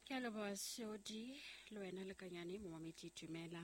Ke a leboha Seodi le wena Lekanyane momamedi dumela.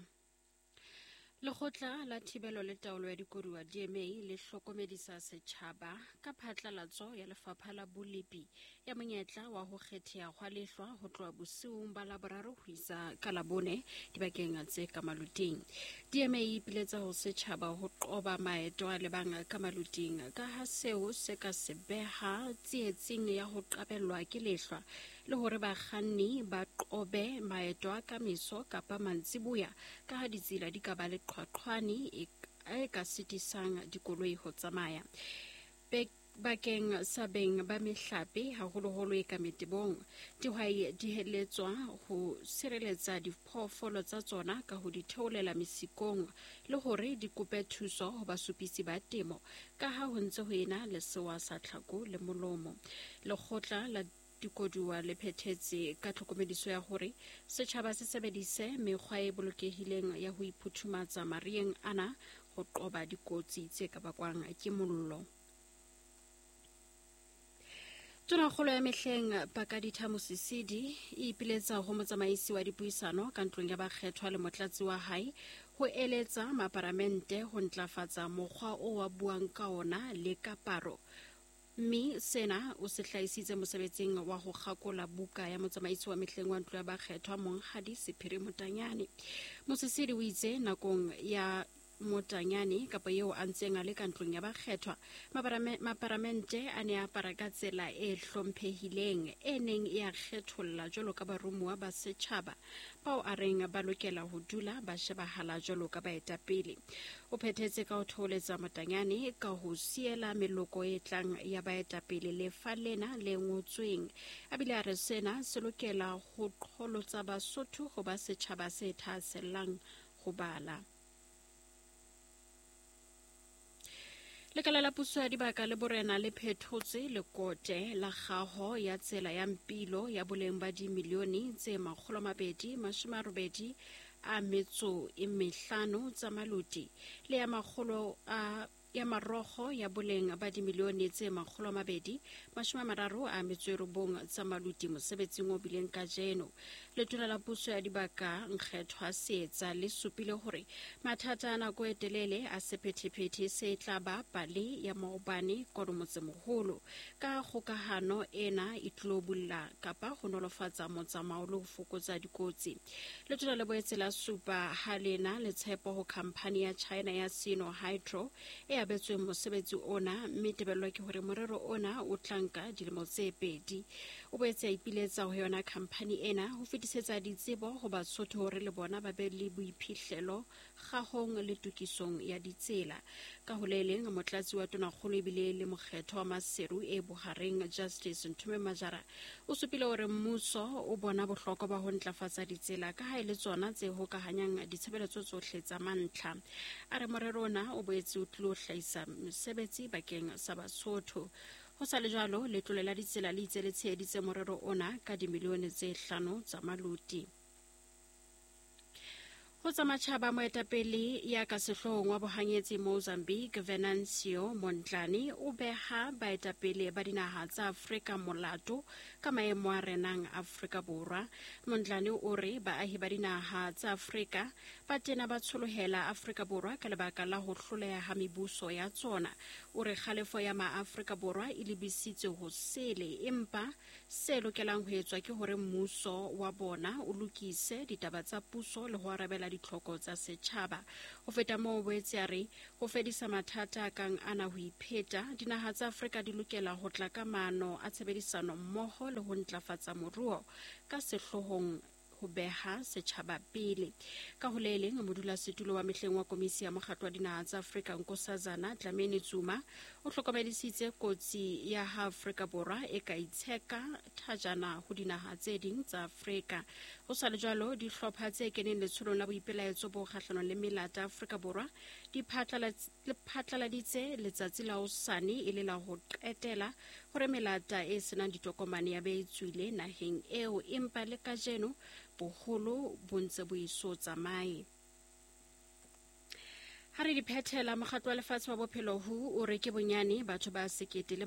Lekgotla la Thibelo le Taolo ya Dikoduwa DMA le hlokomedisa setjhaba ka phatlalatso ya Lefapha la Bolepi ya monyetla wa ho kgetheha hwa lehlwa ho tloha bosiung ba Laboraro ho isa ka Labone dibakeng tse ka maluting. DMA e ipiletsa ho setjhaba ho qoba maeto a lebang ka maluting ka ha seo se ka se beha tsietsing ya ho qabellwa ke lehlwa le hore bakganni ba qobe maeto a ka meso kapa mantsiboya ka ha ditsela di ka ba le qhwaqhwane e, e ka sitisang dikoloi ho tsamaya. Bakeng sa beng ba mehlape, haholoholo e ka metebong, dihwai di heletswa ho sireletsa diphoofolo tsa tsona ka ho di theolela mesikong le hore di kope thuso ho basupisi ba temo ka ha ho ntse ho ena le sewa sa tlhako le molomo. Lekgotla la Dikoduwa le phethetse ka tlhokomediso ya hore setjhaba se sebedise mekgwa e bolokehileng ya ho iphuthumatsa mariyeng ana ho qoba dikotsi tse ka bakwang ke mollo. Tonakgolo ya mehleng Pakaditha Mosisidi e ipiletsa ho motsamaisi wa dipuisano ka ntlong ya bakgethwa le motlatsi wa hae ho eletsa maparamente ho ntlafatsa mokgwa o wa buang ka ona le kaparo Mme sena o se hlahisitse mosebetsing wa ho kgakola buka ya motsamaisi wa mehleng wa ntlo ya bakgethwa Monghadi Sephiri Motanyane. Mosisili o itse nakong ya Motanyane kapa eo a ntseng a le ka ntlong ya bakgethwa, maparamente a ne a apara ka tsela e hlomphehileng e neng e a kgetholla jwalo ka baromuwa ba setjhaba bao a reng ba lokela ho dula ba shebahala jwalo ka baetapele. O phethetse ka ho thoholetsa Motanyane ka ho siela meloko e tlang ya baetapele lefa lena le ngotsweng. A bile a re sena se lokela ho qholotsa Basotho ho ba setjhaba se thahasellang ho bala. Lekala la puso ya dibaka le borena le phethotse lekote la kgaho ya tsela ya Mpilo ya boleng ba dimilione tse 285 tsa maluti le ya makgolo a ya marogo ya boleng ba dimilione tse 239 tsa maluti mosebetsing o bileng kajeno. Letona la puso ya dibaka Nkgethwa Seetsa le supile hore mathata a nako e telele a sephethephethe se tla ba pale ya maobane kwano motsemoholo. Ka kgokahano ena e tlilo bulla kapa ho nolofatsa motsamao le ho fokotsa dikotsi. Letona le boetse la supa ha lena le tshepo ho khamphani ya China ya Sino Hydro e abetsweng mosebetsi ona mme tebello ke hore morero ona o tla nka dilemo tse pedi. O boetse a ipiletsa ho yona khamphani ena ho fetisetsa ditsebo ho Basotho hore le bona ba be le boiphihlelo kgahong le tokisong ya ditsela. Ka ho le leng, motlatsi wa tonakgolo ebile le mokgetho wa Maseru e bohareng Justice Nthume Majara o supile hore mmuso o bona bohlokwa ba ho ntlafatsa ditsela ka ha e le tsona tse hokahanyang ditshebeletso tsohle tsa mantlha. A re morero ona o boetse o tlilo hlahisa mesebetsi bakeng sa Basotho. Ho sa le jwalo, letlole la ditsela le itse le tsheheditse morero ona ka dimilione tse hlano tsa maluti. Ho tsa matjhaba, moetapele ya ka sehloohong wa bohanyetsi Mozambique, Venancio Mondlane, o beha baetapele ba dinaha tsa Afrika molato ka maemo a renang Afrika Borwa. Mondlane o re baahi ba dinaha tsa Afrika ba tena ba tsholohela Afrika Borwa ka lebaka la ho hloleha ha mebuso ya tsona. O re kgalefo ya Maafrika Borwa e lebisitswe ho sele, empa se lokelang ho etswa ke hore mmuso wa bona o lokise ditaba tsa puso le ho arabela ditlhoko tsa setjhaba. Ho feta moo, o boetse a re ho fedisa mathata a kang ana ho ipheta, dinaha tsa Afrika di lokela ho tla ka maano a tshebedisano mmoho le ho ntlafatsa moruo ka sehloohong ho beha setjhaba pele. Ka ho le leng, modulasetulo wa mehleng wa Komisi ya Mokgatlo wa Dinaha tsa Afrika Nkosazana Dlamini Zuma o hlokomedisitse kotsi ya ha Afrika Borwa e ka itsheka thajana ho dinaha tse ding tsa Afrika. Ho sa le jwalo, dihlopha tse keneng letsholong la boipelaetso bo kgahlanong le melata Afrika Borwa di phatlaladitse letsatsi la hosane e le la ho qetela hore melata e senang ditokomane ya be e tswile naheng eo, empa le kajeno boholo bo ntse bo eso tsamaye. Ha re di phethela, mokgatlo wa lefatshe wa bophelo WHO o re ke bonyane batho ba 1300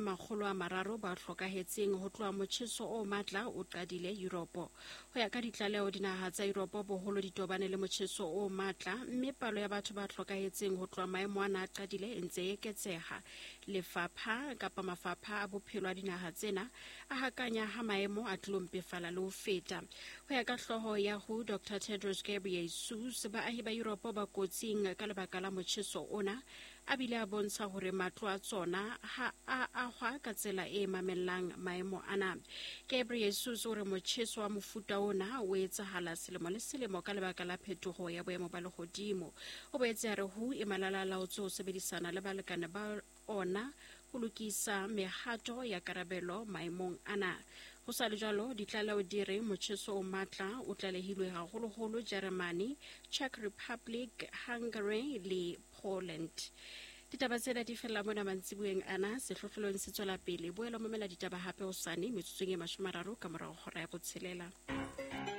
ba hlokahetseng ho tloha motjheso o matla o qadile Yuropo. Ho ya ka ditlaleho, dinaha tsa Yuropo boholo di tobane le motjheso o matla, mme palo ya batho ba hlokahetseng ho tloha maemo ana a qadile e ntse e eketseha. Lefapha kapa mafapha a bophelo a dinaha tsena a hakanya ha maemo a tlilo mpefala le ho feta. Ho ya ka hlooho ya WHO, Dr. Tedros Ghebreyesus, baahi ba Yuropo ba kotsing ka lebaka la motjheso ona, a bile a bontsha hore matlo a tsona ha a ahwa ka tsela e mamellang maemo ana. Ghebreyesus o re motjheso wa mofuta ona o etsahala selemo le selemo ka lebaka la phetoho ya boemo ba lehodimo. O boetse a re WHO e malala-a-laotse ho sebedisana le balekane ba ona ho lokisa mehato ya karabelo maemong ana. Ho sa le jwalo, ditlaleho di re motjheso o matla o tlalehilwe haholoholo Jeremane, Czech Republic, Hungary le Poland. Ditaba tsena di fella mona mantsibueng ana. Sehlohlolong se tswela pele. Boela mamela ditaba hape hosane metsotsong e 30 ka morao hora ya 6.